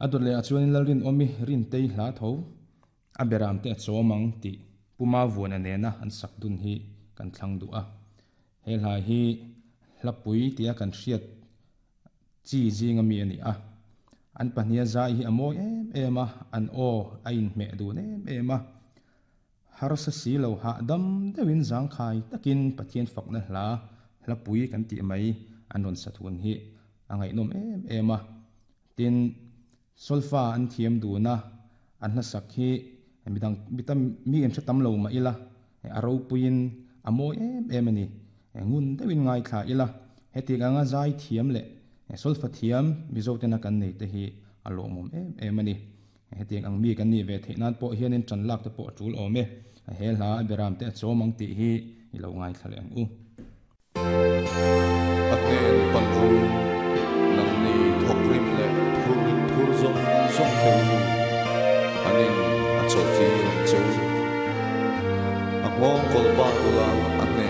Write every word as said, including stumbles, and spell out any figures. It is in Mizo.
A dawt leh ah chuanin Lalrinawmi Rintei hla tho a beram te a chawm ang tih Puma Vuana nena an sak dun hi kan thlang duh a. He hla hi hlapui tia kan hriat chi zinga mi a ni a. An pahniha zai hi a mawi em em a, an aw a inhmeh dun em em a. Harsa si lo hahdam deuhin zangkhai takin Pathian fakna hla hlapui kan tih mai an rawn sa thun hi a ngaihnawm em em a. Tin, solfa an thiam dun a, an hlasak hi midang mi tam mi in hre tam lo mah ila a ropuiin a mawi em em a ni. Ngun deuhin ngaithla ila, hetiang anga zai thiam leh solfa thiam Mizo tena kan nei te hi a lawmawm em em a ni. Hetiang ang mi kan nih ve theih nan pawh hianin ṭan lak te pawh a ṭul awm e. He hla a beram te a chawm ang tih hi i lo ngaithla leh ang u. A hnen pan ru, nangni thawkrim leh phur phur zawng zawng te u, an in a chawlhtir ang che u. A nghawng kawlh bak ula a hnen